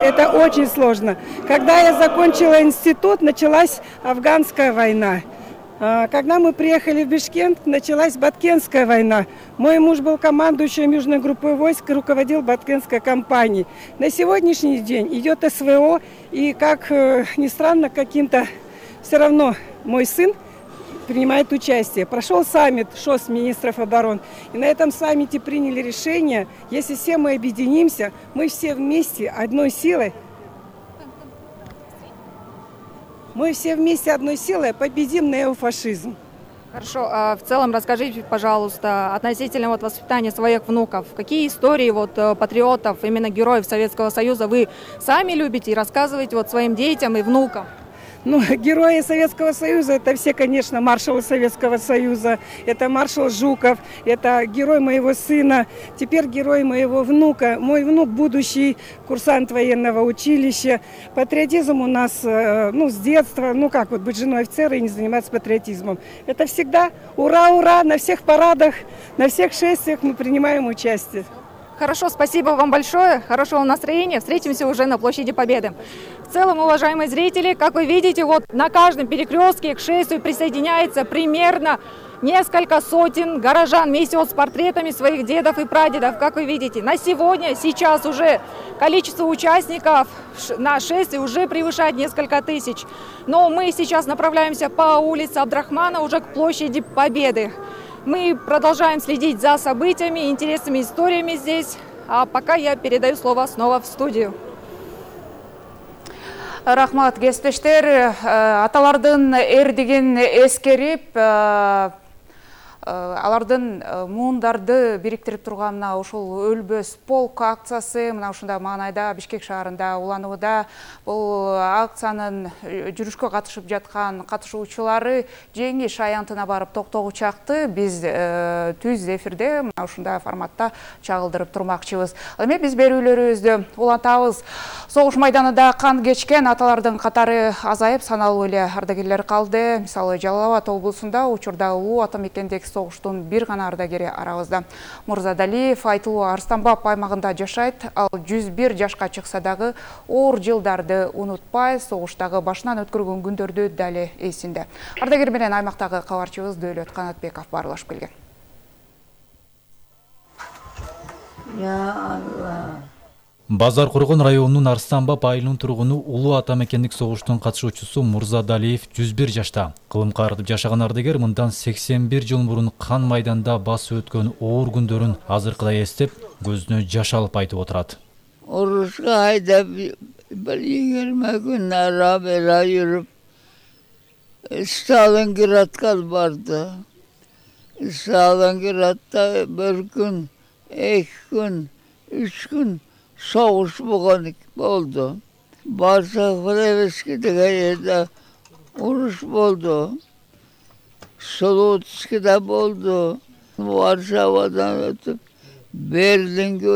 Это очень сложно. Когда я закончила институт, началась афганская война. Когда мы приехали в Бишкек, началась Баткенская война. Мой муж был командующим южной группой войск и руководил Баткенской кампанией. На сегодняшний день идет СВО, и, как ни странно, каким-то все равно мой сын принимает участие. Прошел саммит ШОС министров обороны. И на этом саммите приняли решение, если все мы объединимся, мы все вместе одной силой, победим неофашизм. Хорошо, а в целом расскажите, пожалуйста, относительно воспитания своих внуков. Какие истории патриотов, именно героев Советского Союза вы сами любите и рассказываете своим детям и внукам? Герои Советского Союза — это все, конечно, маршалы Советского Союза. Это маршал Жуков, это герой моего сына, теперь герой моего внука. Мой внук — будущий курсант военного училища. Патриотизм у нас, с детства, быть женой офицера и не заниматься патриотизмом. Это всегда ура, ура, на всех парадах, на всех шествиях мы принимаем участие. Хорошо, спасибо вам большое, хорошего настроения. Встретимся уже на площади Победы. В целом, уважаемые зрители, как вы видите, на каждом перекрестке к шествию присоединяется примерно несколько сотен горожан вместе с портретами своих дедов и прадедов. Как вы видите, на сегодня, сейчас уже количество участников на шествии уже превышает несколько тысяч. Но мы сейчас направляемся по улице Абдрахмана уже к площади Победы. Мы продолжаем следить за событиями, интересными историями здесь. А пока я передаю слово снова в студию. Рахмат, кесиптештер, аталардын эрдигин эскерип, алардын муундарды бириктирип турганына ушул өлбөс полк акциясы мына ушундай маанайда Бишкек шаарында уланууда. Бул акциянын жүрүшкө катышып жаткан катышуучулары жеңиш аянтына барып токтогучакты биз түз эфирде мына ушундай форматта чагылдырып турмакчыбыз. Эми биз берүүлөрүбүздү улантабыз. Согуш майданында кан кечкен аталардын катары азайып, саналуу эле ардагерлер калды. Мисалы, Жалал Абад облусунда учурда улуу ата мекендеги согуштун бир гана ардагери арабызда. Мурзадалиев айтылуу Арстанбап аймагында жашайт. Ал 101 жашка чыкса дагы оор жылдарды унутпай, согуштагы башынан өткөргөн күндөрдү дали эсинде. Ардагер менен аймактагы кабарчыбыз Дөөлөт Канатбеков баарлашып келген. Базар Кургон районунун Арстанбап айылынын тургуну улуу ата мекендик согуштун катышуучусу Мурзадалиев 101 жашта. Кылымга артып жашаган ардагер мындан 81 жыл мурун кан майданда басып өткөн оор күндөрүн азыркыдай эстеп, көзүнө жаш алып айтып отурат. Урушка айдап бир 20 күн ара-бера жүрүп, Сталинградка барды. Сталинградда bir күн, 2 күн, 3 күн soğuş oldu. Barsak-Frevski деген yerde uruş oldu. Solutski'de oldu. Varşava'dan ötüp, Berlin'e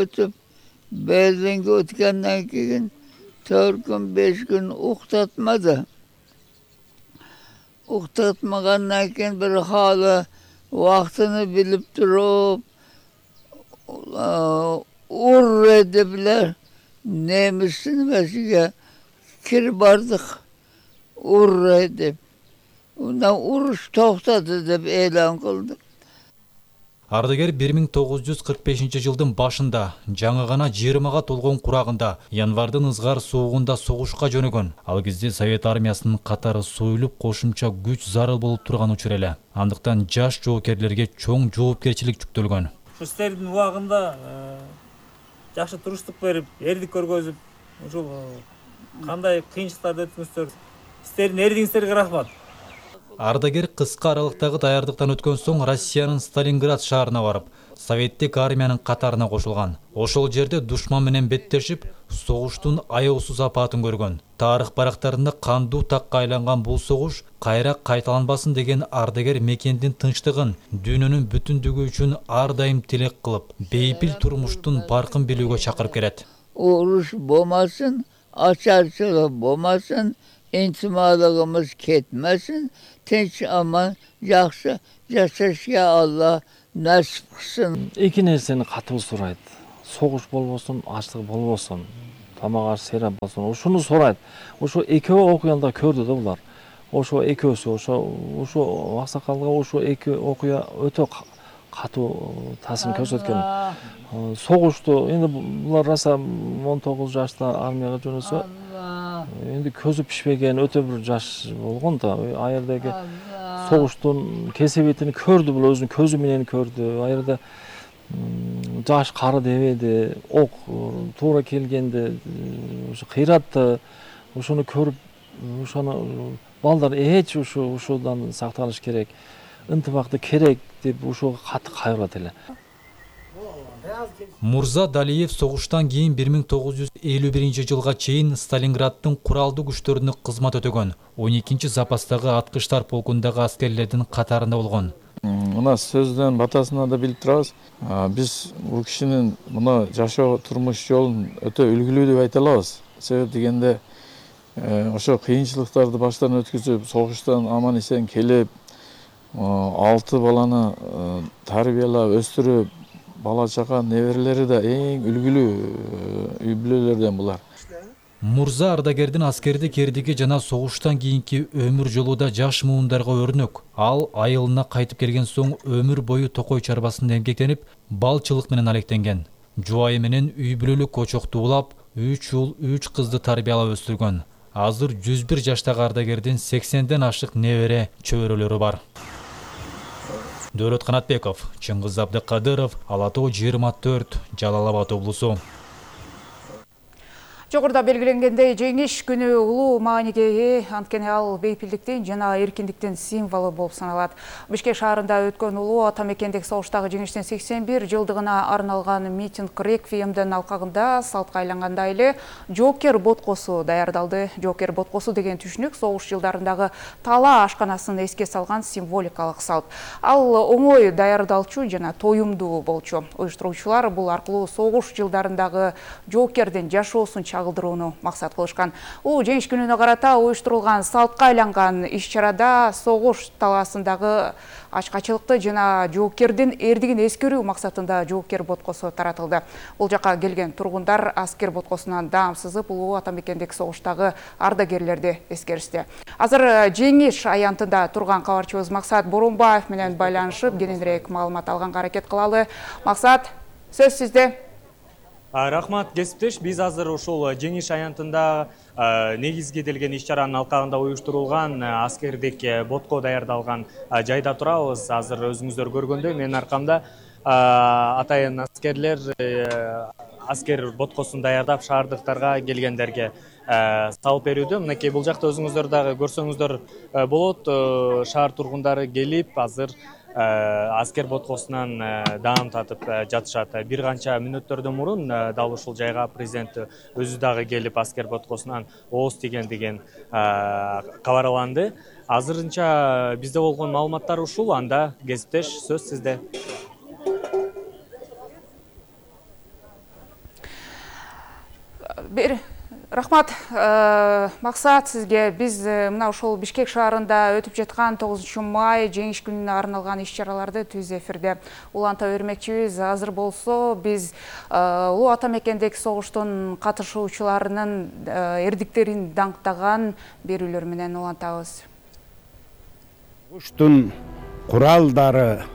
ötkenden keyin 4 gün, 5 gün uqtatmadı. Uqtatmagandan keyin bir halı vaktini bilip durup, urr edipler, neymişsin mesile kir bardık, urr edip. Ondan uruş toxtadı dep elan kıldık. Ардагер 1945 жылдын башында жаңы гана 20-га толгон курагында январдын ызгар суугунда согушка жөнөгөн. Ал кезде Совет армиясынын катары союлуп кошумча күч зарыл болуп турган учур эле. Андыктан жаш жоокерлерге чоң жоопкерчилик жүктөлгөн. Сиздердин убагында жакшы туруштук берип, эрдик көргөзүп, ушул кандай кыйынчылыктарды өткөнсүздөр. Сиздердин эрдигиңиздерге рахмат. Ардагер кыска аралыктагы даярдыктан өткөн соң Россиянын Сталинград шаарына барып, Советтик армиянын катарына кошулган. Ошол жерде душман менен беттешип, согуштун аеусуз апатын көргөн. Тарых барактарында кандуу такка айланган бул согуш кайра кайталанбасын деген ардагер мекендин тынчтыгын, дүйнөнүн бүтүндүгү үчүн ар дайым тилек кылып, бейпил турмуштун баркын билүүгө чакырып келет. Uruş болмасын, açarçılık болмасын, intimalığımız ketmesin, tinç aman, жақсы жашашка Allah насип кылсын. Эки нерсени катуу сурайт. Согуш болбосун, ачлык болбосун. тамак аш сейрап болсун. Ушуну сурайт. Ошо экөө окуянда көрдү да булар. Ошо экөөсү, ошо аксакалга ошо эки окуя өтө катуу таасир көрсөткөн. Согушту эми булар раса 19 жашта армияга жөнөсө, эми көзү пишпеген өтө бир жаш болгон да. Ал жердеги согуштун кесебетин көрдү, бул өзүнүн көзү менен көрдү. Ал жерде жаш кары дебеди, ок туура келгенде ошо кыйратты. Ошону көрүп, ошону балдар ушудан сактаныш керек, ынтымакты керек деп ушуга катты кайрылат эле. Мурза Далиев согуштан кийин 1951-жылга чейин Сталинграддын куралдуу күчтөрүнө кызмат өтөгөн. 12-запастагы аткычтар полкундагы аскерлердин катарында болгон. Мына сөздөн батасына да билип турабыз. Биз бул кишинин мына жашоо турмуш жолун өтө үлгүлүү деп айта алабыз. Себеп дегенде ошо кыйынчылыктарды баштан өткүзүп, согуштан аман эсен келип, 6 баланы тарбиялап, өстүрүп, бала чака неберелери да эң үлгүлүү үй бүлөлөрдөн булар. Мурза ардагердин аскердик эрдиги жана согуштан кийинки өмүр жолу да жаш муундарга өрнөк. Ал айылына кайтып келген соң өмүр бою токой чарбасында эмгектенип, балчылык менен алектенген. Жубайы менен үй бүлөлүк кочокту улап, 3 уул 3 кызды тарбиялап өстүргөн. Азыр 101 жаштагы ардагердин 80ден ашык небере чөбөрөлөрү бар. Дөөлөт Канатбеков, Чыңгыз Абдыкадыров, Ала Тоо 24, Жалал Абад облусу. Жогоруда белгиленгендей, жеңиш күнү улуу мааниге ээ, анткени ал бейпилдиктин жана эркиндиктин символу болуп саналат. Бишкек шаарында өткөн улуу ата мекендеги согуштагы жеңиштин 81 жылдыгына арналган митинг реквиемдин алкагында салтка айлангандай эле жоокер боткосу даярдалды. Жоокер боткосу деген түшүнүк согуш жылдарындагы талаа ашканасын эске салган символикалык салт. Ал оңой даярдалчу жана тоюмдуу болчу. Уюштуруучулар бул аркылуу согуш жылдарындагы жоокердин жашоосун чагылдырууну максат кылышкан. Жеңиш күнүнө карата уюштурулган салтка айланган иш-чарада согуш талаасындагы ачкачылыкты жана жоокердин эрдигин эскерүү максатында жоокер боткосу таратылды. Бул жака келген тургундар аскер боткосунан даам сызып, улуу ата мекендеги согуштагы ардагерлерди эскеришти. Азыр жеңиш аянтында турган кабарчыбыз Максат Боронбаев менен байланышып, кененирээк маалымат алганга аракет кылалы. Максат, сөз сизде. Рахмат, кесиптеш, биз азыр ушул жеңиш аянтында негизгиделген иш-чаранын алкагында уюштурулган аскердик ботко даярдалган жайда турабыз. Азыр өзүңүздөр көргөндөй менин аркамда атайын аскерлер аскер боткосун даярдап шаардыктарга келгендерге салып берүүдө. Мынакей бул жакта өзүңүздөр дагы көрсөңүздөр болот. Шаар тургундары келип азыр аскер боткосунан даам татып жатышат. Бир канча мүнөттөрдөн мурун дал ушул жайга президент өзү дагы келип аскер боткосунан ооз тиген деген кабарланды. Азырынча бизде болгон маалыматтар ушул. Анда кесиптеш, сөз сизде. Рахмат, Максат, сизге. Биз мына ушул Бишкек шаарында өтүп жаткан 9 май жеңиш күнүнө арналган иш-чараларды түз эфирде уланта бермекчибиз. Азыр болсо биз улуу ата мекендеги согуштун катышуучуларынын эрдиктерин даңктаган берүүлөр менен улантабыз. Согуштун куралдары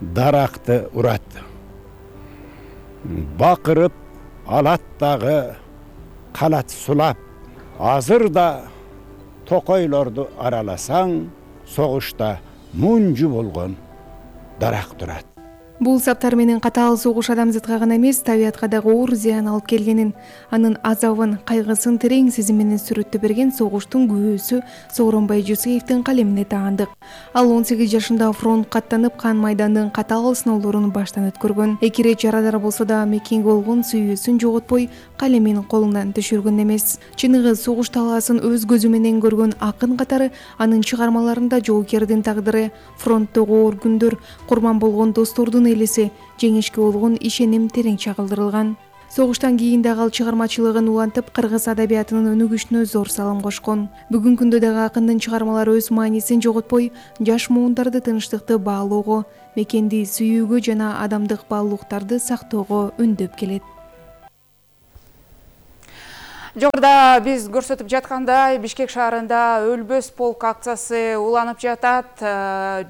даракты урат. Бакырып алат дагы калат сулап. Азыр да токойлорду араласаң, согушта мунжу болгон дарак турат. Бул саптар менен катаал согуш адамзатка гана эмес, табиятка дагы оор зыян алып келгенин, анын азабын, кайгысын терең сезим менен сүрөттөп берген согуштун күбөсү Сооронбай Жусеевдин калемине таандык. Ал 18 жашында фронтка аттанып, кан майдандын катаал сыноолорун баштан өткөргөн. Эки ирет жарадар болсо да мекенге болгон сүйүүсүн жоготпой, калемин колунан түшүргөн эмес. Чыныгы согуш талаасын өз көзү менен көргөн акын катары анын чыгармаларында жоокердин тагдыры, фронттогу оор күндөр, курман болгон достордун элеси, жеңишке болгон ишеним терең чагылдырылган. Согуштан кийин дагы ал чыгармачылыгын улантып, кыргыз адабиятынын өнүгүшүнө зор салым кошкон. Бүгүнкү күндө дагы акындын чыгармалары өз маанисин жоготпой, жаш муундарды тынчтыкты баалоого, мекенди сүйүүгө жана адамдык баалуулуктарды сактоого үндөп келет. Жогоруда биз көрсөтүп жаткандай Бишкек шаарында өлбөс полк акциясы уланып жатат.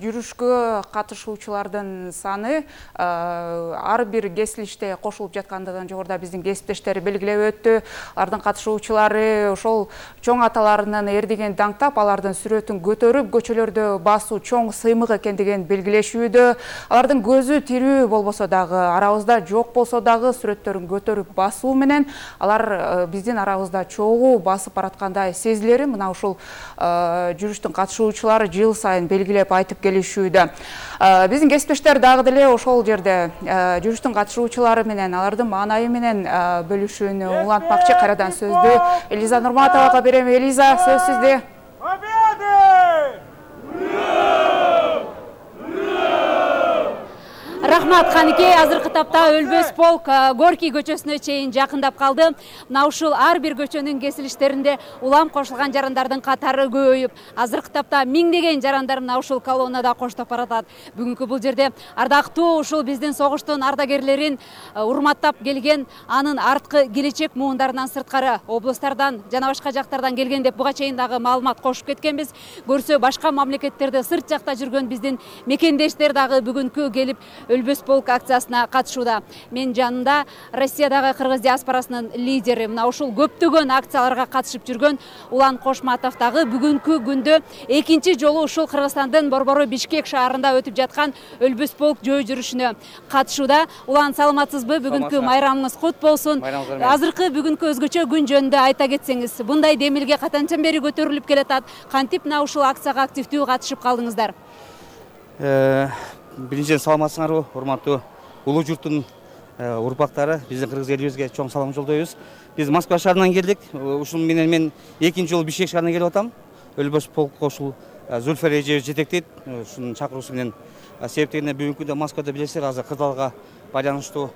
Жүрүшкө катышуучулардын саны ар бир кесилиште кошулуп жаткандыгын жогоруда биздин кесиптештер белгилеп өттү. Алардын катышуучулары ошол чоң аталарынын эрдигин даңктап, алардын сүрөтүн көтөрүп, көчөлөрдө басуу чоң сыймык экендигин белгилешүүдө. Алардын көзү тирүү болбосо дагы, арабызда жок болсо дагы сүрөттөрүн көтөрүп басуу менен алар биздин арабызда чогуу басып бараткандай сезилери мына ушул жүрүштүн катышуучулары жыл сайын белгилеп айтып келишүүдө. Биздин кесиптештер дагы деле ошол жерде жүрүштүн катышуучулары менен алардын маанайы менен бөлүшүүнү улантмакчы. Кайрадан сөздү Элиза Нурматовага берем. Элиза, сөз сизде. Рахмат, Канике. Азыркы тапта өлбөс полк Горький көчөсүнө чейин жакындап калды. Мына ушул ар бир көчөнүн кесилиштеринде улам кошулган жарандардын катары көбөйүп, азыркы тапта миңдеген жарандар мына ушул колоннада коштоп баратат. Бүгүнкү бул жерде ардактуу ушул биздин согуштун ардагерлерин урматтап келген, анын арткы келечек муундарынан сырткары облустардан жана башка жактардан келген деп буга чейин дагы маалымат кошуп кеткенбиз. Көрсө башка мамлекеттерде сырт жакта жүргөн биздин мекендештер дагы бүгүнкү келип өлбөс полк акциясына катышууда. Мен жанында Россиядагы кыргыз диаспорасынын лидери, мына ушул көптөгөн акцияларга катышып жүргөн Улан Кошматов дагы бүгүнкү күндө экинчи жолу ушул Кыргызстандын борбору Бишкек шаарында өтүп жаткан өлбөс полк жөө жүрүшүнө катышууда. Улан, саламатсызбы? Бүгүнкү майрамыңыз кут болсун. Азыркы бүгүнкү өзгөчө күн жөнүндө айта кетсеңиз, бундай демилге качандан бери көтөрүлүп келатат? Кантип мына ушул акцияга активдүү катышып калдыңыздар? Биринчиден саламатсыңарбы, урматтуу улуу журттун урпактары, биздин кыргыз элибизге чоң салам жолдойбуз. Биз Москва шаарынан келдик. Ушул менен мен экинчи жолу Бишкек шаарына келип атам. Өлбөс полкко ушул Зульфа Эжебиз жетектейт. Ушунун чакыруусу менен себептегине бүгүнкү күндө Москвада билесиздер, азыр кырдаалга байланыштуу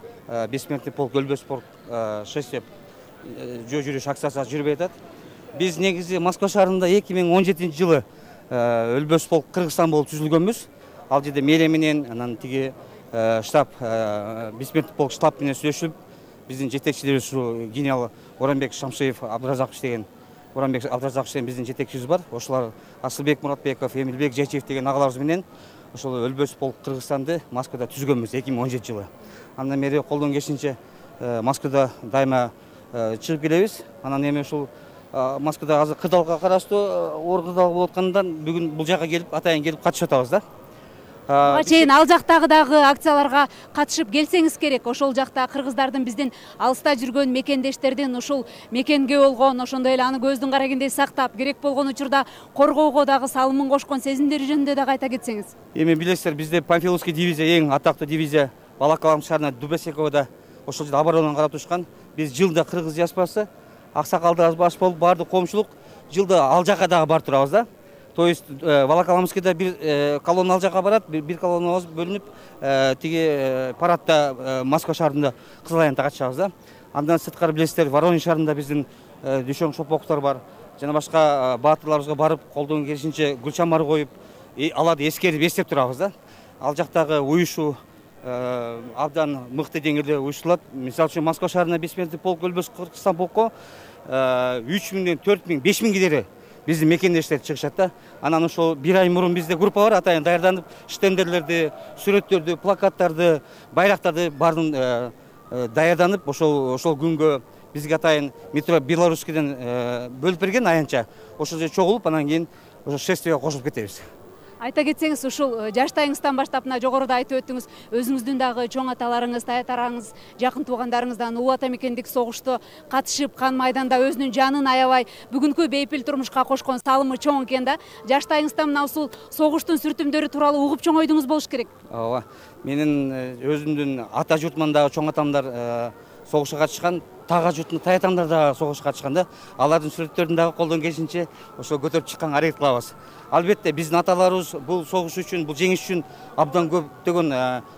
бессмертный полк, өлбөс полк 6 деп жөө жүрүш акциясы жүрүп атат. Биз негизи Москва шаарында 2017-жылы өлбөс полк Кыргызстан болуп түзүлгөнбүз. Ал жерде мэрия менен, анан тиги штаб, бессмертный полк штаб менен сүйлөшүп, биздин жетекчилерибиз ушу генерал Оранбек Шамшиев, Абдыразакович деген биздин жетекчибиз бар. Ошолор Асылбек Муратбеков, Эмилбек Жечиев деген агаларыбыз менен ошол өлбөс полк Кыргызстанды Москвада түзгөнбүз 2017-жылы. Андан бери колдон келишинче Москвада дайыма чыгып келебиз. Анан эми ушул Москвада азыр кырдаалга караштуу оор кырдаал болуп аткандан бүгүн бул жака келип, атайын келип катышып атабыз да. Буга чейин ал жактагы дагы акцияларга катышып келсеңиз керек. Ошол жакта кыргыздардын биздин алыста жүргөн мекендештердин ушул мекенге болгон, ошондой эле аны көздүн карагендей сактап, керек болгон учурда коргоого дагы салымын кошкон сезимдери жөнүндө дагы айта кетсеңиз. Эми билесиздер, бизде Панфиловский дивизия, эң атактуу дивизия Балакалам шаарына Дубесековда ошол жерде оборонадан карап турушкан. Биз жылда кыргыз диаспорасы, аксакалдарыбыз баш болуп, баардык коомчулук жылда ал жака дагы барып турабыз да. То есть Волоколамскийда бир колонна ал жака барат, бир колоннабыз бөлүнүп, тиги парадта Москва шаарында Кызыл Аянтта катышабыз да. Андан сырткары билесиздер, Воронеж шаарында биздин дөшөң шопоктор бар. Жана башка баатырларыбызга барып, колдон келишинче гүл чамар коюп, аларды эскерип, эстеп турабыз да. Ал жактагы уюшуу абдан мыкты деңгээлде уюштурулат. Мисалы үчүн Москва шаарына бессмертный полк өлбөс Кыргызстан полкко 3000, 4000, 5000 кидери биздин мекендештер чыгышат да. Анан ошол бир ай мурун бизде группа бар, атайын даярданып, штендерлерди, сүрөттөрдү, плакаттарды, байрактарды баарын даярданып, ошол күнгө бизге атайын метро Белорусскийден бөлүп берген аянтча. Ошол жерде чогулуп, анан кийин ошо шествияга кошулуп кетебиз. Айта кетсеңиз, ушул жаштайыңыздан баштап мына жогоруда айтып өттүңүз, өзүңүздүн дагы чоң аталарыңыз, таятараңыз, жакын туугандарыңыздан улуу ата мекендик согушта катышып, кан майданда өзүнүн жанын аябай бүгүнкү бейпил турмушка кошкон салымы чоң экен да. Жаштайыңыздан мына ушул согуштун сүртүмдөрү тууралуу угуп чоңойдуңуз болуш керек. Ооба. Менин өзүмдүн ата журтуман дагы чоң атамдар согушка катышкан, тага журтун таятамдар дагы согушка катышкан да. Алардын сүрөттөрүн дагы колдон келишинче ошо көтөрүп чыкканга аракет кылабыз. Албетте биздин аталарыбыз бул согуш үчүн, бул жеңиш үчүн абдан көптөгөн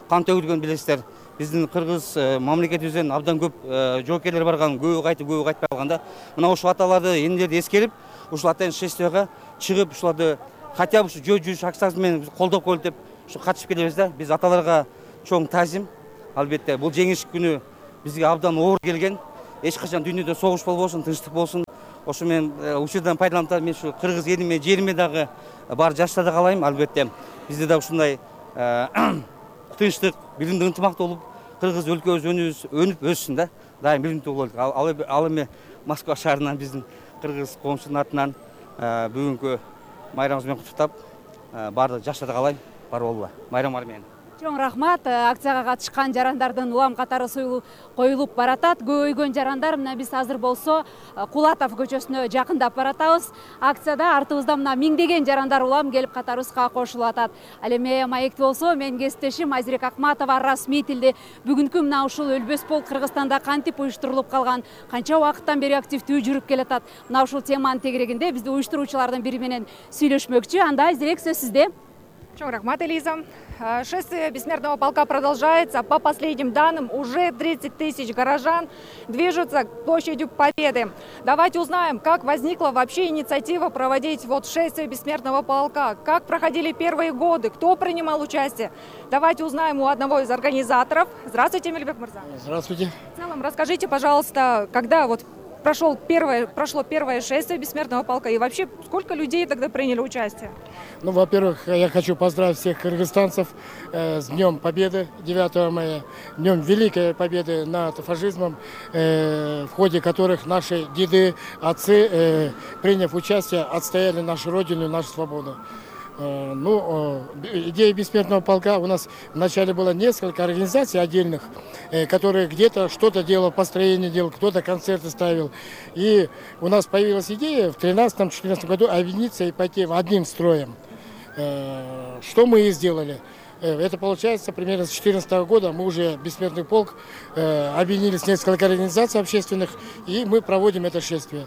кан төгүлгөн билесиздер. Биздин кыргыз мамлекетибизден абдан көп жоокерлер барган, көбү кайтпай калганда. Мына ошол аталарды, энелерди эскерип, ушул атайын шествияга чыгып, ушуларды хотя бы жөө жүрүш акциясы менен колдоп коелу деп ушу катышып келебиз да. Биз аталарга чоң таазим. Албетте бул жеңиш күнү бизге абдан оор келген. эч качан дүйнөдө согуш болбосун, тынчтык болсун. Ошо мен учурдан пайдаланып мен ушу кыргыз элиме, жериме дагы бар жаштарды каалайм. Албетте бизде да ушундай тынчтык, билимдүү ынтымактуу болуп, кыргыз өлкөбүз өнүп өссүн да. Дайым билимдүү бололук. Ал эми Москва шаарынан биздин кыргыз коомчунун атынан бүгүнкү майрамыбыз менен куттуктап, баардык жаштарды каалайм. Бар болула. Майрамыңар менен. Чоң рахмат. Акцияга катышкан жарандардын улам катары коюлуп баратат. Көбөйгөн жарандар мына биз азыр болсо Кулатов көчөсүнө жакындап баратабыз. Акцияда артыбызда мына миңдеген жарандар улам келип катарыбызга кошулуп атат. Ал эми маекти болсо менин кесиптешим Айзирек Акматова расмий тилде бүгүнкү мына ушул өлбөс полк Кыргызстанда кантип уюштурулуп калган, канча убакыттан бери активдүү жүрүп келатат. Мына ушул теманын тегерегинде бизди уюштуруучулардын бири менен сүйлөшмөкчү. Анда Айзирек, сөз сизде. Чоң рахмат, Элиза. Шествие бессмертного полка продолжается. По последним данным, уже 30 тысяч горожан движутся к площади Победы. Давайте узнаем, как возникла вообще инициатива проводить шествие бессмертного полка, как проходили первые годы, кто принимал участие. Давайте узнаем у одного из организаторов. Здравствуйте, Эмильбек Мырза. Здравствуйте. В целом, расскажите, пожалуйста, когда прошло первое шествие бессмертного полка и вообще сколько людей тогда приняли участие? Ну, во-первых, я хочу поздравить всех кыргызстанцев с Днем Победы, 9 мая, Днем Великой Победы над фашизмом, в ходе которых наши деды, отцы, приняв участие, отстояли нашу родину и нашу свободу. Идея бессмертного полка, у нас вначале было несколько организаций отдельных, которые где-то что-то делал, построение делал, кто-то концерты ставил. И у нас появилась идея в 2013-2014 году объединиться и пойти одним строем. Что мы и сделали. Это получается примерно с 2014 года мы уже бессмертный полк объединились несколько организаций общественных, и мы проводим это шествие.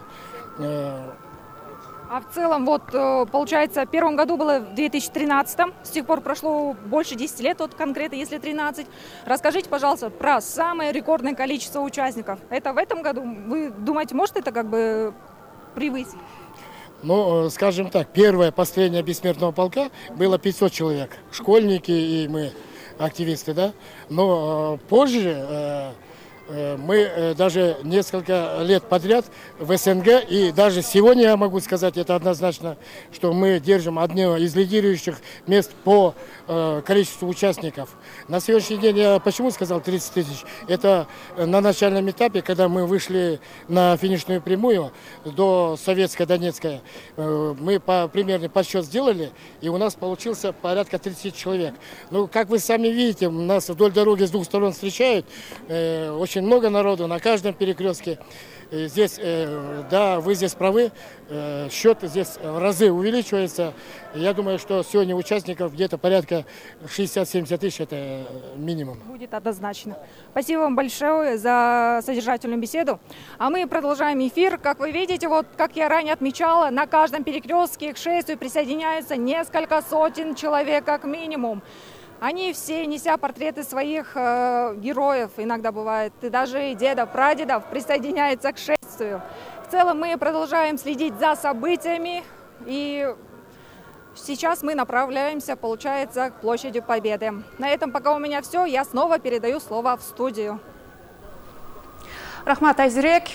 А в целом, получается, в первом году было в 2013-м, с тех пор прошло больше 10 лет, конкретно, если 13. Расскажите, пожалуйста, про самое рекордное количество участников. Это в этом году, вы думаете, может это превысить? Скажем так, первое построение бессмертного полка было 500 человек, школьники и мы, активисты, да. Но позже мы даже несколько лет подряд в СНГ, и даже сегодня я могу сказать это однозначно, что мы держим одно из лидирующих мест по количеству участников. На сегодняшний день я почему сказал 30 тысяч? Это на начальном этапе, когда мы вышли на финишную прямую до Советской Донецкой, мы примерный подсчет сделали, и у нас получился порядка 30 человек. Как вы сами видите, нас вдоль дороги с двух сторон встречают, очень много народу на каждом перекрестке. Здесь, да, вы здесь правы, счет здесь в разы увеличивается. Я думаю, что сегодня участников где-то порядка 60-70 тысяч, это минимум. Будет однозначно. Спасибо вам большое за содержательную беседу. А мы продолжаем эфир. Как вы видите, как я ранее отмечала, на каждом перекрестке к шествию присоединяются несколько сотен человек как минимум. Они все, неся портреты своих героев, иногда бывает, и даже дедов, прадедов, присоединяются к шествию. В целом мы продолжаем следить за событиями, и сейчас мы направляемся, получается, к площади Победы. На этом пока у меня все, я снова передаю слово в студию. Рахмат, Айзирек,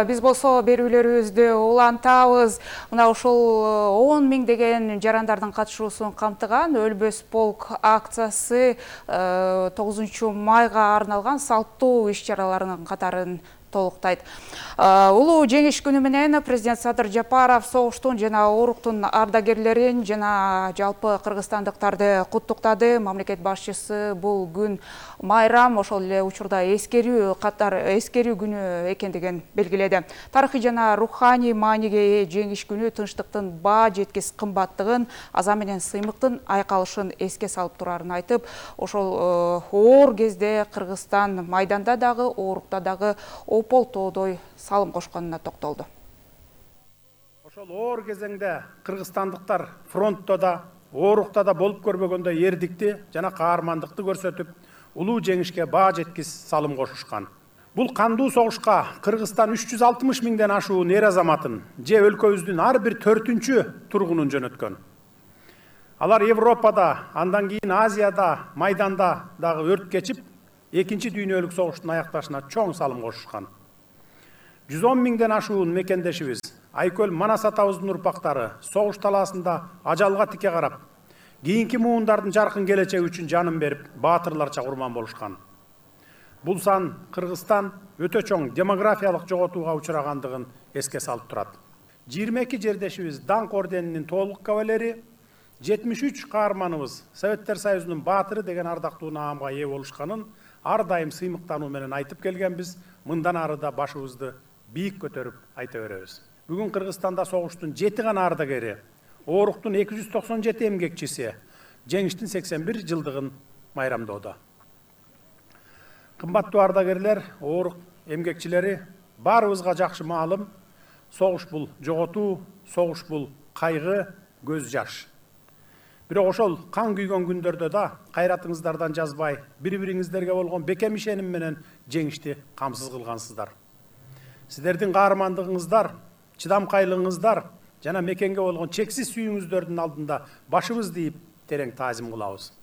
биз болсо берүүлөрүбүздү улантабыз. Мына ушул 10 миңдеген жарандардын катышуусун камтыган Өлбөс полк акциясы 9 майга арналган салттуу иш-чараларынын катарын толуктайт. Улуу жеңиш күнү менен президент Садыр Жапаров согуштун жана ооруктун ардагерлерин жана жалпы кыргызстандыктарды куттуктады. Мамлекет башчысы бул күн майрам, ошол эле учурда эскерүү күнү экендигин белгиледи. Тарыхый жана руханий мааниге жеңиш күнү тынчтыктын баа жеткис кымбаттыгын, аза менен сыймыктын айкалышын эске салып турарын айтып, ошол оор кезде Кыргызстан майданда дагы, оорукта дагы опол тоодой салым кошконуна токтолду. Ошол оор кезеңде кыргызстандыктар фронтто да, оорукта да болуп көрбөгөндөй эрдикти жана каармандыкты көрсөтүп, улуу жеңишке баа жеткис салым кошушкан. Бул кандуу согушка Кыргызстан 360 миңден ашуун эр азаматын же өлкөбүздүн ар бир 4-чү тургунун жөнөткөн. Алар Европада, андан кийин Азияда, майданда дагы өрт кечип, Экинчи дүйнөлүк согуштун аякташына чоң салым кошушкан. 110 миңден ашуун мекендешибиз Айкөл Манас атабыздын урпактары согуш талаасында ажалга тике карап, кийинки муундардын жаркын келечеги үчүн жанын берип, баатырларча курман болушкан. Бул сан Кыргызстан өтө чоң демографиялык жоготууга учурагандыгын эске салып турат. 22 жердешибиз Даңк орденинин толук кавалери, 73 каарманыбыз Советтер Союзунун баатыры деген ардактуу наамга ээ болушканын ар дайым сыймыктануу менен айтып келгенбиз. Мындан ары да башыбызды бийик көтөрүп айта беребиз. Бүгүн Кыргызстанда согуштун 7 гана ардагери, ооруктун 297 эмгекчиси жеңиштин 81 жылдыгын майрамдоодо. Кымбаттуу ардагерлер, оорук эмгекчилери, баарыбызга жакшы маалым, согуш бул жоготуу, согуш бул кайгы, көз жаш. Бирок ошол кан күйгөн күндөрдө да кайратыңыздардан жазбай, бири-бириңиздерге болгон бекем ишеним менен жеңишти камсыз кылгансыздар. Сиздердин каармандыгыңыздар, чыдамкайлыгыңыздар жана мекенге болгон чексиз сүйүүңүздөрдүн алдында башыбызды ийип терең таазим кылабыз.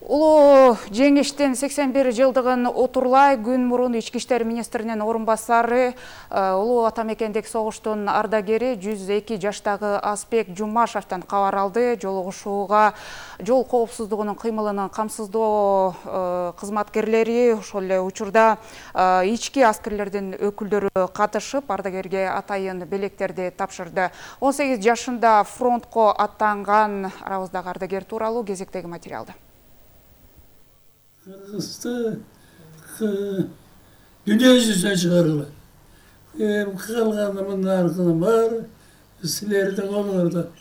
Улуу жеңиштин 81 жылдыгын отурлай күн мурун Ички иштер министринин орун басары, улуу атамекендик согуштун ардагери 102 жаштагы Аспек Жумашевден кабар алды. Жолугушууга жол коопсуздугунун кыймылын камсыздоо кызматкерлери, ошол эле учурда ички аскерлердин өкүлдөрү катышып, ардагерге атайын белектерди тапшырды. 18 жашында фронтко аттанган арабыздагы ардагер тууралуу кезектеги материалды. Кыргызды дүние жүзүнө чыгарылат. Калганы мындан аркылы бар, силердин колуңарда.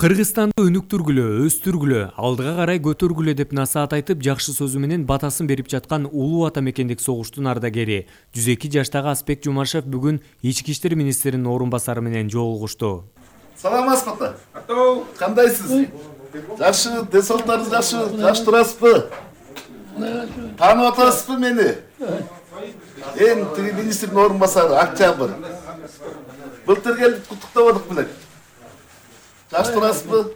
Кыргызстанды өнүктүргүлө, өстүргүлө, алдыга карай көтөргүлө деп насаат айтып, жакшы сөзү менен батасын берип жаткан улуу атамекендик согуштун ардагери 102 жаштагы Аспек Жумашев бүгүн Ички иштер министринин орун басары менен жолугушту. Саламатсызбы? Кандайсыз? Жакшы, десолтарыңыз жакшы, жакшы турасызбы? Таанып атасызбы мени? Тиги министрдин орун басары Октябрь. Былтыр келип куттуктабадык белек. Жакшы турасызбы?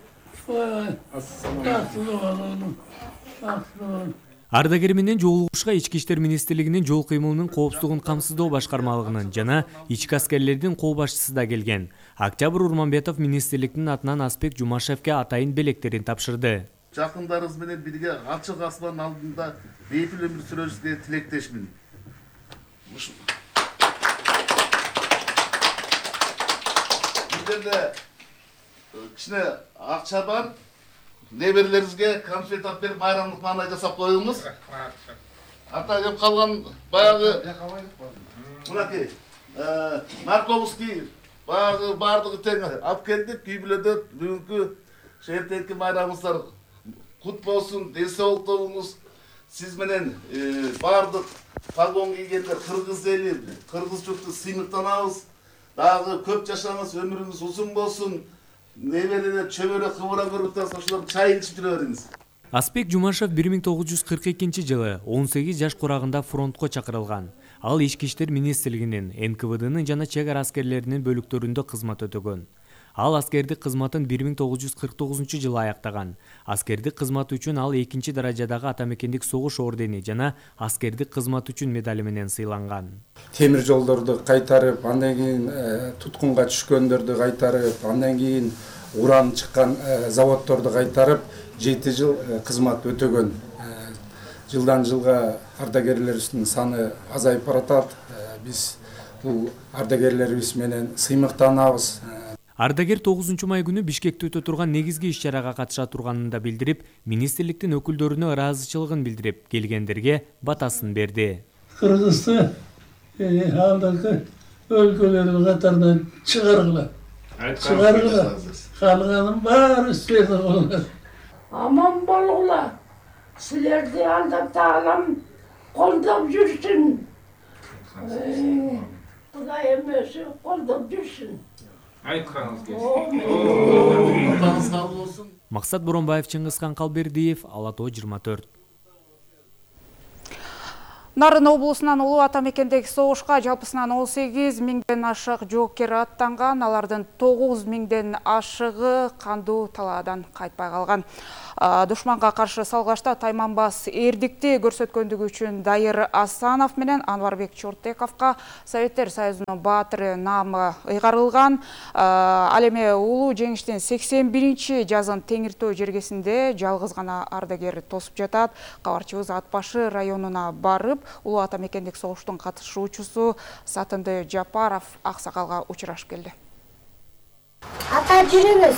Ардагер менен жолугушууга Ички иштер министрлигинин жол кыймылынын коопсуздугун камсыздоо башкармалыгынын жана ички аскерлердин кол башчысы да келген. Октябрь Урманбетов министрликтин атынан Аспек Жумашевке атайын белектерин тапшырды. Жакындарыңыз менен бирге ачык асман алдында бейпил өмүр сүрөшүңүзгө тилектешмин. Бул жерде кичине акча бар. Неберелериңизге конфет алып берип майрамдык маанай жасап коюңуз. Ата кеп калган баягы мынакей Марковский баягы бардыгы тең алып келдик. Үй бүлөдө бүгүнкү шертеңки майрамыңыздар кут болсун, десолтуңуз. Сиз менен бардык погон кийгендер кыргыз эли, кыргыз журту сыймыктанабыз. Дагы көп жашаңыз, өмүрүңүз узун болсун. Неберелер чөбөрө кыбыра көрүп турса, ошолор чай ичип жүрө бериңиз. Аспек Жумашев 1942 жылы 18 жаш курагында фронтко чакырылган. Ал Ички иштер министрлигинин, НКВДнын жана чек ара аскерлеринин бөлүктөрүндө кызмат өтөгөн. Ал аскердик кызматын 1949 жылы аяктаган. Аскердик кызматы үчүн ал 2-чи даражадагы атамекендик согуш ордени жана аскердик кызматы үчүн медали менен сыйланган. Темир жолдорду кайтарып, андан кийин туткунга түшкөндөрдү кайтарып, андан кийин уран чыккан заводдорду кайтарып 7 жыл кызмат өтөгөн. Жылдан жылга ардагерлерибиздин саны азайып баратат. Биз бул ардагерлерибиз менен сыймыктанабыз. Ардагер 9 май күнү Бишкекте өтө турган негизги иш-чарага катыша турганын да билдирип, министрликтин өкүлдөрүнө ыраазычылыгын билдирип, келгендерге батасын берди. Кыргызды алдыңкы өлкөлөрдүн катарынан чыгаргыла. Чыгаргыла. Калганын баары силердин колуңар. Аман болгула. Силерди Алла Таалам колдоп жүрсүн. Кудай эмеси колдоп жүрсүн. Максат Боронбаев, Чыңгызхан Калбердиев, Ала Тоо 24. Нарын облусунан Улуу Ата мекендеги согушка жалпысынан 18 миңден ашык жоокер аттанган, алардын 9 миңден ашыгы кандуу талаадан кайтпай калган. Душманга каршы салгашта тайманбас эрдикти көрсөткөндүгү үчүн Дайыр Асанов менен Анварбек Чортековго Советтер Союзунун баатыры наамы ыйгарылган. Ал эми улуу жеңиштин 81-чи жазын Теңиртөө жергесинде жалгыз гана ардагер тосуп жатат. Кабарчыбыз Ат башы районуна барып, Улуу Ата мекендик согуштун катышуучусу Сатынды Жапаров аксакалга учурашып келди. Ата жүрүңүз.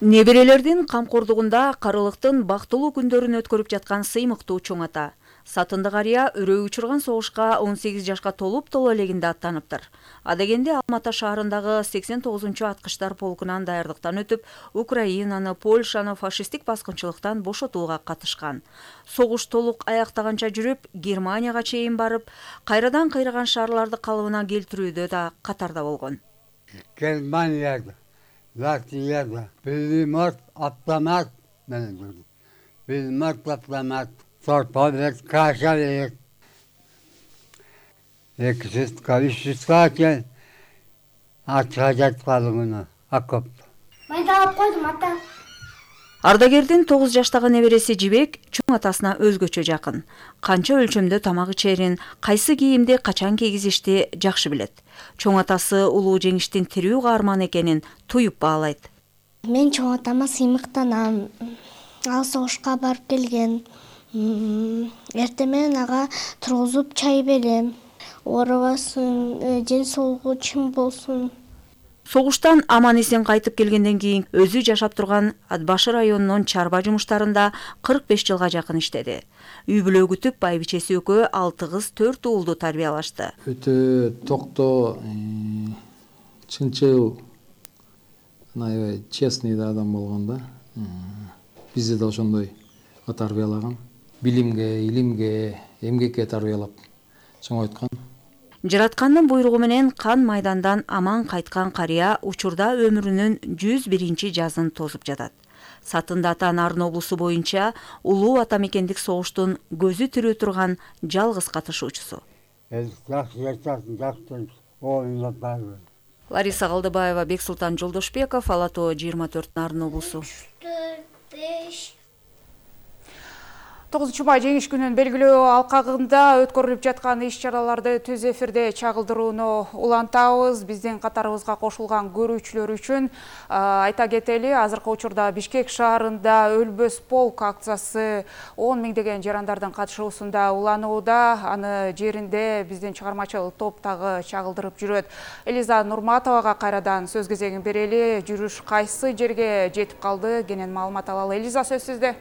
Неберелердин камкордугунда карылыктын бактылуу күндөрүн өткөрүп жаткан сыймыктуу чоң ата. Сатынды карыя өрөө учурган согушка 18 жашка толуп элегинде аттаныптыр. Адегенде Алмата шаарындагы 89-чу аткычтар полкунан даярдыктан өтүп, Украинаны, Польшаны фашисттик баскынчылыктан бошотууга катышкан. Согуш толук аяктаганча жүрүп, Германияга чейин барып, кайрадан кыйраган шаарларды калыбына келтирүүдө да катарда болгон. Германияда, Латвияда, Белиморт автомат менен жүрдүм. Белиморт автомат. Сорпалет, каша берет. 200-300 кен атыга жатып калган окоп. Мен да алып койдум ата. Ардагердин 9 жаштагы небереси Жибек чоң атасына өзгөчө жакын. Канча өлчөмдө тамак ичерин, кайсы кийимди качан кийгизишти жакшы билет. Чоң атасы улуу жеңиштин тирүү каарман экенин туюп баалайт. Мен чоң атама сыймыктанам. Ал согушка барып келген. Эртең менен ага тургузуп чай берем. Оорубасын, ден соолугу чың болсун. Согуштан аман-эсен кайтып келгенден кийин өзү жашап турган Ат башы районунун чарба жумуштарында 45 жылга жакын иштеди. Үй бүлө күтүп байбичеси экөө 6 кыз 4 уулду тарбиялашты. Өтө токтоо, чынчыл, аябай честный адам болгон да. Бизди да ошондой тарбиялаган. Билимге, илимге, эмгекке тарбиялап чоңойткан. Жараткандын буйругу менен кан майдандан аман кайткан карыя учурда өмүрүнүн 101-чи жазын тосуп жатат. Сатынды ата Нарын облусу боюнча Улуу Ата мекендик согуштун көзү тирүү турган жалгыз катышуучусу. Лариса Калдыбаева, Бексултан Жолдошбеков, Алато 24 Нарын облусу. 9 май жеңиш күнүн белгилөө алкагында өткөрүлүп жаткан иш-чараларды түз эфирде чагылдырууну улантабыз. Биздин катарыбызга кошулган көрүүчүлөр үчүн айта кетели, азыркы учурда Бишкек шаарында Өлбөс полк акциясы 10 миңдеген жарандардын катышуусунда уланууда. Аны жеринде биздин чыгармачыл топ дагы чагылдырып жүрөт. Элиза Нурматовага кайрадан сөз кезегин берели. Жүрүш кайсы жерге жетип калды? Кенен маалымат алалы. Элиза, сөз сизде.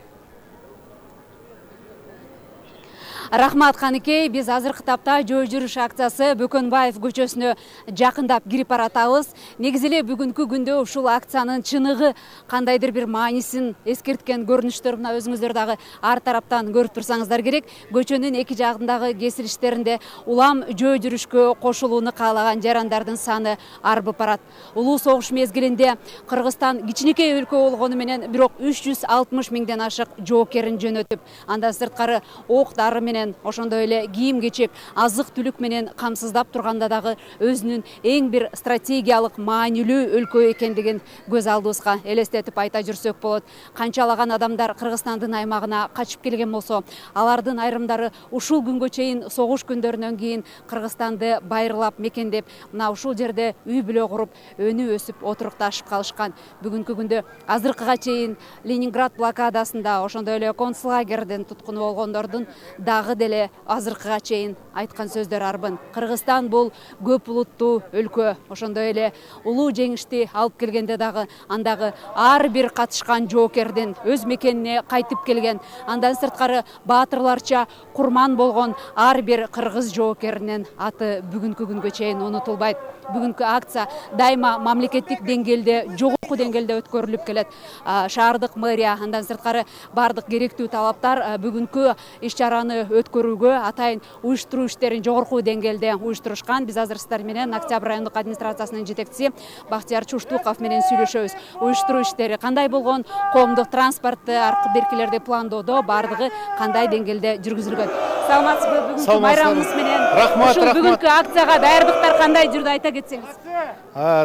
Рахмат Каныкей, биз азыркы тапта жөө жүрүш акциясы Бөкөнбаев көчөсүнө жакындап кирип баратабыз. Негизи эле бүгүнкү күндө ушул акциянын чыныгы кандайдыр бир маанисин эскерткен көрүнүштөр мына өзүңүздөр дагы ар тараптан көрүп турсаңыздар керек. Көчөнүн эки жагындагы кесилиштеринде улам жөө жүрүшкө кошулууну каалаган жарандардын саны арбып барат. Улуу согуш мезгилинде Кыргызстан кичинекей өлкө болгону менен бирок 360 миңден ашык жоокерин жөнөтүп, андан сырткары ок-дары менен ошондой эле кийим-кечек, азык-түлүк менен камсыздап турганда дагы өзүнүн эң бир стратегиялык маанилүү өлкө экендигин көз алдыбызга элестетип айта жүрсөк болот. Канчалаган адамдар Кыргызстандын аймагына качып келген болсо, алардын айрымдары ушул күнгө чейин согуш күндөрүнөн кийин Кыргызстанды байырлап мекендеп, мына ушул жерде үй бүлө куруп, өнү өсүп отурукташып калышкан. Бүгүнкү күндө азыркыга чейин Ленинград блокадасында, ошондой эле концлагердин туткуну болгондордун дагы деле азыркыга чейин айткан сөздөр арбын. Кыргызстан бул көп улуттуу өлкө. Ошондой эле улуу жеңишти алып келгенде дагы андагы ар бир катышкан жоокердин өз мекенине кайтып келген, андан сырткары баатырларча курман болгон ар бир кыргыз жоокеринин аты бүгүнкү күнгө чейин унутулбайт. бүгүнкү акция дайыма мамлекеттик деңгээлде жогорку деңгээлде өткөрүлүп келет. Шаардык мэрия андан сырткары бардык керектүү талаптар бүгүнкү иш-чараны өткөрүүгө атайын уюштуруу иштерин жогорку деңгээлде уюштурушкан. Биз азыр сиздер менен Октябрь райондук администрациясынын жетекчиси Бактияр Чуштуков менен сүйлөшөбүз. Уюштуруу иштери кандай болгон, коомдук транспортты аркы беркилерди пландоодо бардыгы кандай деңгээлде жүргүзүлгөн? Саламатсызбы? Бүгүнкү байрамыңыз менен рахмат. Бүгүнкү акцияга даярдыктар кандай жүрдү, айта кетсеңиз?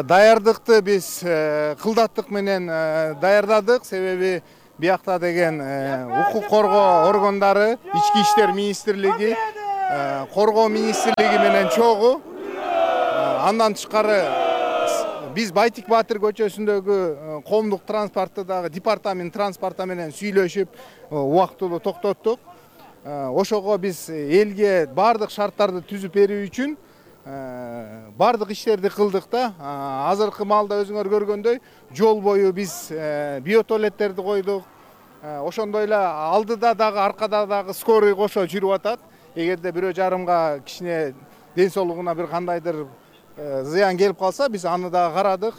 Даярдыкты биз кылдаттык менен даярдадык, себеби биякта деген укук коргоо органдары, Ички иштер министрлиги, коргоо министрлиги менен чогуу. Андан тышкары биз Байтик Баатыр көчөсүндөгү коомдук транспортты дагы департамент транспорта менен сүйлөшүп убактылуу токтоттук. Ошого биз элге бардык шарттарды түзүп берүү үчүн бардык иштерди кылдык да. Азыркы маалда өзүңөр көргөндөй жол бою биз биотуалеттерди койдук. Ошондой эле алдыда дагы аркада дагы скорый кошо жүрүп атат. Эгерде бирөө жарымга кичине ден соолугуна бир кандайдыр зыян келип калса, биз аны дагы карадык.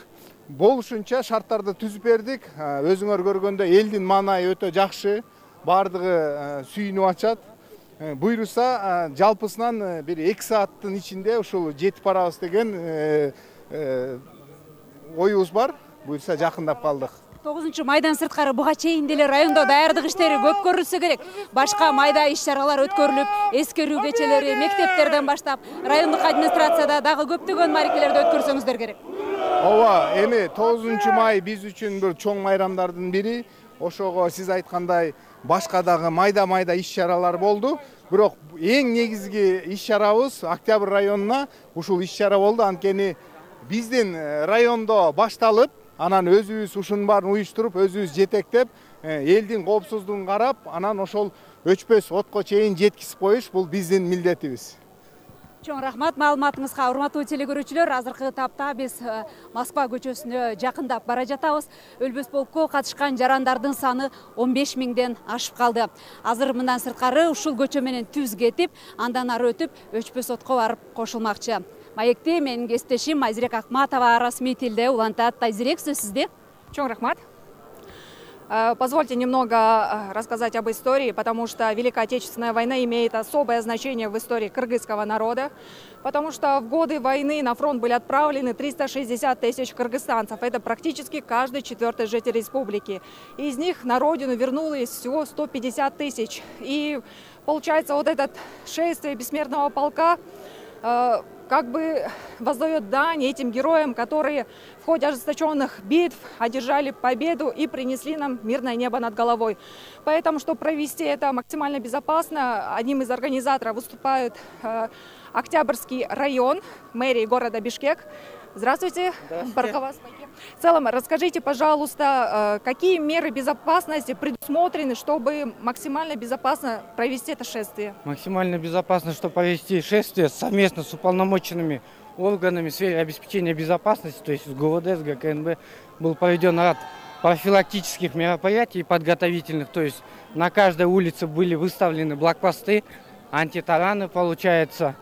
Болушунча шарттарды түзүп бердик. Өзүңөр көргөндөй элдин маанайы өтө жакшы. Бардыгы сүйүнүп атышат. Буйруса жалпысынан бир 2 сааттын ичинде ушул жетип барабыз деген оюбуз бар. Буйруса жакындап калдык. 9-майдан сырткары буга чейин деле райондо даярдык иштери көп көрүлсө керек. Башка майда иш-чаралар өткөрүлүп, эскерүү кечелери мектептерден баштап, райондук администрацияда дагы көптөгөн марекелерди өткөрсөңүздөр керек. Ооба, эми 9-май биз үчүн бир чоң майрамдардын бири. Ошого сиз айткандай башка дагы майда иш-чаралар болду. Бирок эң негизги иш-чарабыз Октябрь районуна ушул иш-чара болду. Анткени биздин райондо башталып, анан өзүбүз ушунун баарын уюштуруп, өзүбүз жетектеп, элдин коопсуздугун карап, анан ошол өчпөс отко чейин жеткизип коюш бул биздин милдетибиз. Чоң рахмат маалыматыңызга, урматтуу телекөрүүчүлөр. Азыркы тапта биз Москва көчөсүнө жакындап бара жатабыз. Өлбөс полкко катышкан жарандардын саны 15 миңден ашып калды. Азыр мындан сырткары ушул көчө менен түз кетип, андан ары өтүп, Өчпөс отко барып кошулмакчы. Маекти менин кесиптешим Айзирек Акматова расмий тилде улантат. Айзирек, сөз сизде. Чоң рахмат. Позвольте немного рассказать об истории, потому что Великая Отечественная война имеет особое значение в истории кыргызского народа, потому что в годы войны на фронт были отправлены 360 тысяч кыргызстанцев. Это практически каждый 4-й житель республики. Из них на родину вернулось всего 150 тысяч. И получается, вот это шествие бессмертного полка как бы воздает дань этим героям, которые в ходе ожесточенных битв одержали победу и принесли нам мирное небо над головой. Поэтому, чтобы провести это максимально безопасно, одним из организаторов выступает Октябрьский район мэрии города Бишкек. Здравствуйте. В целом, расскажите, пожалуйста, какие меры безопасности предусмотрены, чтобы максимально безопасно провести это шествие? Максимально безопасно, чтобы провести шествие совместно с уполномоченными органами в сфере обеспечения безопасности, то есть с ГУВД, с ГКНБ, был проведен ряд профилактических мероприятий и подготовительных, то есть на каждой улице были выставлены блокпосты, антитараны, получается,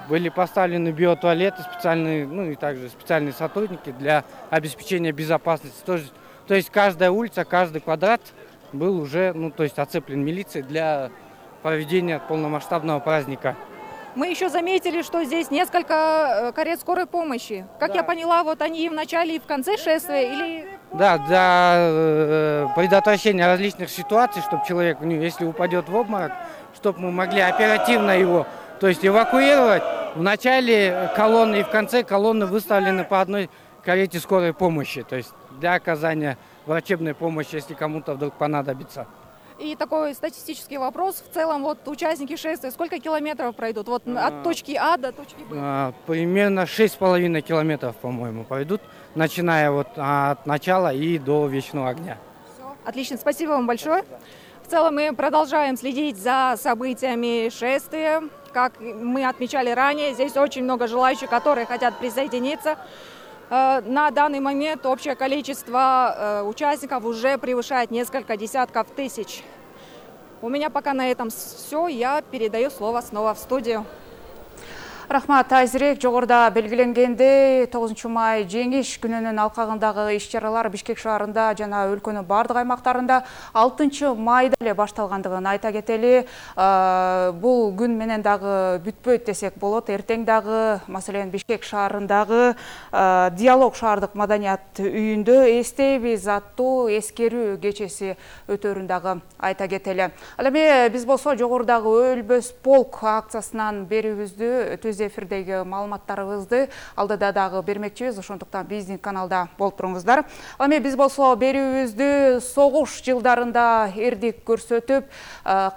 были поставлены биотуалеты специальные, ну и также специальные сотрудники для обеспечения безопасности. То есть каждая улица, каждый квадрат был уже, ну то есть оцеплен милицией для проведения полномасштабного праздника. Мы еще заметили, что здесь несколько карет скорой помощи. Как я поняла, вот они и в начале, и в конце шествия, или... Да, для предотвращения различных ситуаций, чтобы человек, если упадет в обморок, чтобы мы могли оперативно его, то есть эвакуировать. В начале колонны и в конце колонны выставлены по одной карете скорой помощи, то есть для оказания врачебной помощи, если кому-то вдруг понадобится. И такой статистический вопрос. В целом, вот участники шествия сколько километров пройдут? Вот от точки А до точки Б? Примерно 6,5 километров, по-моему, пройдут, начиная вот от начала и до Вечного огня. Все. Отлично, спасибо вам большое. В целом мы продолжаем следить за событиями шествия. Как мы отмечали ранее, здесь очень много желающих, которые хотят присоединиться. На данный момент общее количество участников уже превышает несколько десятков тысяч. У меня пока на этом все. Я передаю слово снова в студию. Рахмат Айзирек. Жогоруда белгиленгендей 9 май жеңиш күнүнүн алкагындагы иш-чаралар Бишкек шаарында жана өлкөнүн бардык аймактарында 6 майда эле башталгандыгын айта кетели. Бул күн менен дагы бүтпөйт десек болот. Эртең дагы маселен Бишкек шаарындагы Диалог шаардык маданият үйүндө эстейбиз аттуу эскерүү кечеси өтөрүн дагы айта кетели. Ал эми биз болсо жогорудагы өлбөс полк акциясынан берүүбүздү түз эфирдеги маалыматтарыбызды алдыда дагы бермекчибиз, ошондуктан биздин каналда болуп туруңуздар. Ал эми биз болсо берүүбүздү согуш жылдарында эрдик көрсөтүп,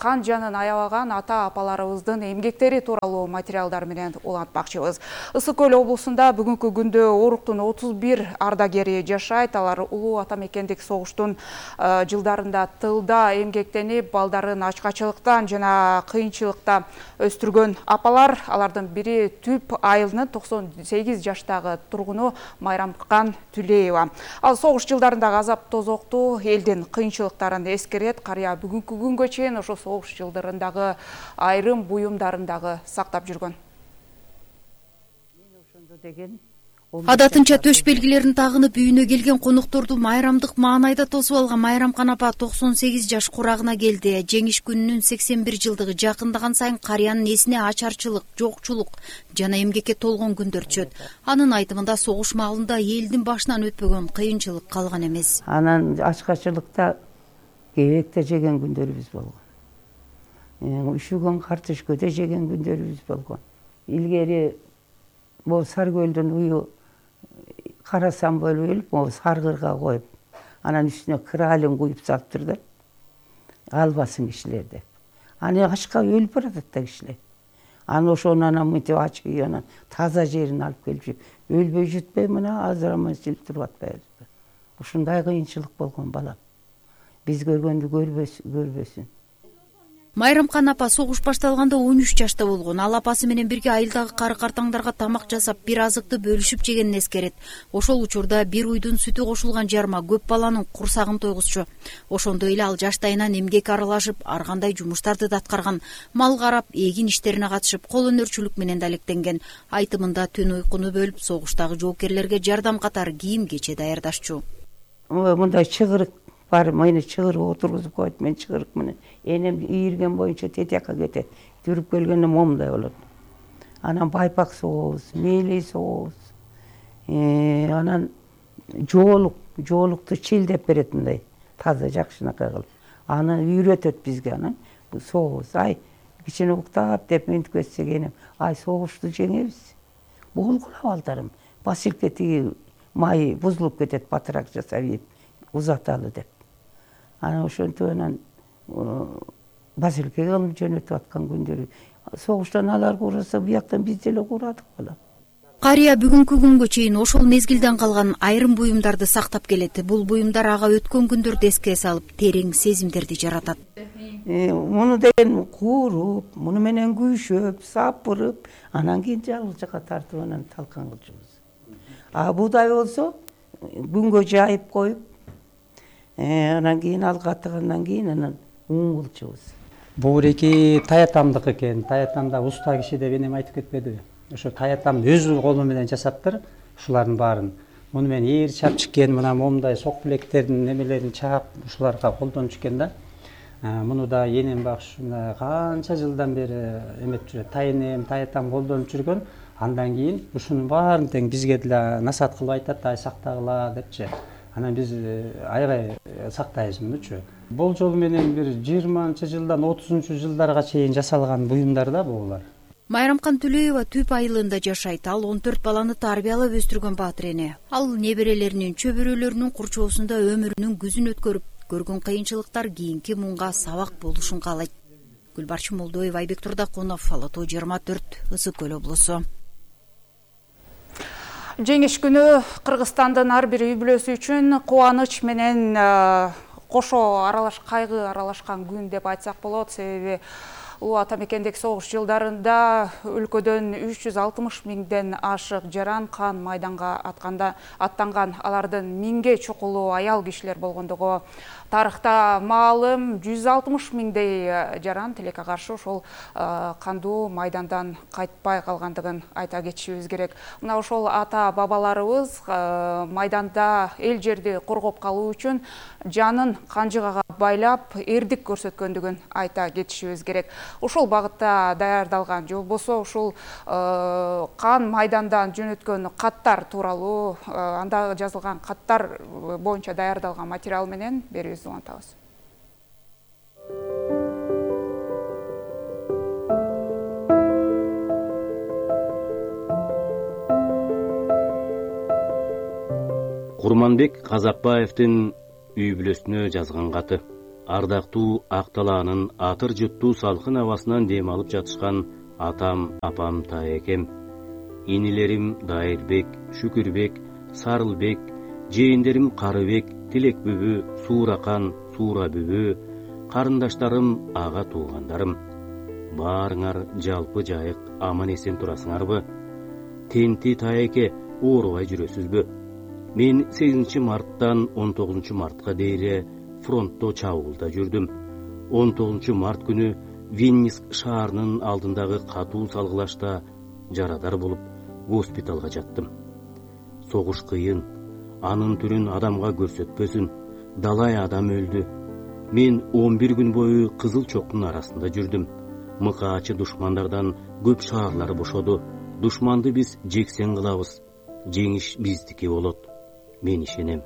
кан жанын аябаган ата-апаларыбыздын эмгектери тууралуу материалдар менен улантмакчыбыз. Ысык Көл облусунда бүгүнкү күндө Оруктун 31 ардагери жашайт. Алар улуу ата мекендик согуштун жылдарында тылда эмгектенип, балдарын ачкачылыктан жана кыйынчылыкта өстүргөн апалар. Алардын бири Түп айылынын 98 жаштагы тургуну Майрамкан Түлеева. Ал согуш жылдарындагы азап тозокту, элдин кыйынчылыктарын эскерет. Карыя бүгүнкү күнгө чейин ошо согуш жылдарындагы айрым буюмдарын дагы сактап жүргөн. Адатынча төш белгилерин тагынып үйүнө келген конокторду майрамдык маанайда тосуп алган Майрамкан апа 98 жаш курагына келди. Жеңиш күнүнүн 81 жылдыгы жакындаган сайын карыянын эсине ачарчылык, жокчулук жана эмгекке толгон күндөр түшөт. Анын айтымында согуш маалында элдин башынан өтпөгөн кыйынчылык калган эмес. Анан ачкачылыкта кебекте жеген күндөрүбүз болгон. Үшүгөн картошкада жеген күндөрүбүз болгон. Илгери бул Саркөлдүн уyu карасам бөлүп, саргырга коюп, анан үстүнө кралин куюп салыптыр да. Албасын кишилер деп. Аны ачка өлүп баратат да кишилер. Аны ошону анан мынтип ачып, анан таза жерин алып келип, өлбөй жүтпөй мына азырамай жылып туруп атпайбызбы. Ушундай кыйынчылык болгон балам. Биз көргөндү көрбөсүн. Майрамкан апа согуш башталганда 13 жашта болгон. Ал апасы менен бирге айылдагы кары-картаңдарга тамак жасап, бир азыкты бөлүшүп жегенин эскерет. Ошол учурда бир уйдун сүтү кошулган жарма көп баланын курсагын тойгузчу. Ошондой эле ал жаштайынан эмгек аралашып, ар кандай жумуштарды да аткарган. Мал карап, эгин иштерине катышып, кол өнөрчүлүк менен да алектенген. Айтымында түн уйкуну бөлүп, согуштагы жоокерлерге жардам катары кийим кече даярдашчу. Мындай чыгырык бар, мени чыгырып отургузуп коет, мен чыгырык менен энем ийирген боюнча тетияка кетет. Жүрүп келгенде момундай болот. Анан байпак согобуз, мээлей согобуз. Анан жоолукту чилдеп берет мындай, таза жакшынакай кылып. Аны үйрөтөт бизге, анан согобуз. Ай, кичине уктап деп мынтип кетсек энем, ай согушту жеңебиз. Болгула балдарым. Басилке тиги майы бузулуп кетет, батырак жасап ийип, узаталы деп. Анан ошентип анан басилке кылып жөнөтүп аткан күндөрү. Согуштан алар кураса, бияктан биз деле курадык балам. Карыя бүгүнкү күнгө чейин ошол мезгилден калган айрым буюмдарды сактап келет. Бул буюмдар ага өткөн күндөрдү эске салып, терең сезимдерди жаратат. Муну деген кууруп, муну менен күйшөп, сапырып, анан кийин жалгыз жака тартып анан талкан кылчубуз. Будай болсо күнгө жайып коюп, анан кийин ал катыгандан кийин анан ун кылчубуз. Бул эки таятамдык экен. Таятамда уста киши деп энем айтып кетпедиби? Ошо таятам өз колу менен жасаптыр ушулардын баарын. Муну мен ээр чапчыккен, мына момундай сок билектердин немелерин чаап ушуларга колдонуп жүргөн да. Муну да энем багышында канча жылдан бери эметип жүрөт. Тайенем, таятам колдонуп жүргөн. Андан кийин ушунун баарын тең бизге деле насаат кылып айтат, ай сактагыла депчи. Анан биз аябай сактайбыз мунучу. Болжол менен бир 20 жылдан 30 жылдарга чейин жасалган буюмдар да булар. Майрамкан Түлеева Түп айылында жашайт. Ал 14 баланы тарбиялап өстүргөн баатыр эне. Ал неберелеринин, чөбөрөлөрүнүн курчоосунда өмүрүнүн күзүн өткөрүп, көргөн кыйынчылыктар кийинки мунга сабак болушун каалайт. Гүлбарчын Молдоева, Айбек Турдакунов, Алатоо 24, Ысык Көл облусу. Жеңиш күнү Кыргызстандын ар бир үй бүлөсү үчүн кубаныч менен кошо кайгы аралашкан күн деп айтсак болот. Себеби улуу ата мекендеги согуш жылдарында өлкөдөн 360 миңден ашык жаран кан майданга аттанган, алардын 1000ге чукулуу аял кишилер болгондугу тарыхта маалым. 160 миңдей жаран тилекке каршы ошол кандуу майдандан кайтпай калгандыгын айта кетишибиз керек. Мына ошол ата бабаларыбыз майданда эл жерди коргоп калуу үчүн жанын канжыгага байлап эрдик көрсөткөндүгүн айта кетишибиз керек. Ошол багытта даярдалган же болбосо ушул кан майдандан жөнөткөн каттар тууралуу, анда жазылган каттар боюнча даярдалган материал менен берүүбүздү улантабыз. Курманбек Казакбаевдин үй бүлөсүнө жазган каты. Ардактуу ак талаанын атыр жуттуу салкын абасынан дем алып жатышкан атам, апам, таекем. Инилерим Дайырбек, Шүкүрбек, Сарылбек, жээндерим Карыбек, Тилек бүбү, Сууракан, Суура бүбү, карындаштарым, ага туугандарым. Баарыңар жалпы жайык аман эсен турасыңарбы? Тенти таеке, оорубай жүрөсүзбү? Мен 8 марттан 19 мартка дейре фронтто чабуулда жүрдүм. 19 март күнү Винниск шаарынын алдындагы катуу салгылашта жарадар болуп госпиталга жаттым. Согуш кыйын, анын түрүн адамга көрсөтпөсүн, далай адам өлдү. Мен 11 күн бою кызыл чоктун арасында жүрдүм. Мыкаачы душмандардан көп шаарлар бошоду. Душманды биз жексен кылабыз. Жеңиш биздики болот. Мен ишенем.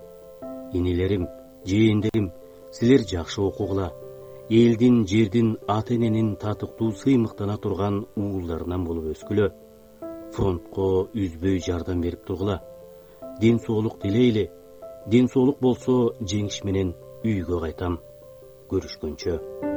Инилерим, жээндерим, силер жакшы окугула. Элдин, жердин, ата-эненин татыктуу сыймыктана турган уулдарынан болуп өскүлө. Фронтко үзбөй жардам берип тургула. Ден соолук тилейли. Ден соолук болсо жеңиш менен үйгө кайтам. Көрүшкөнчө.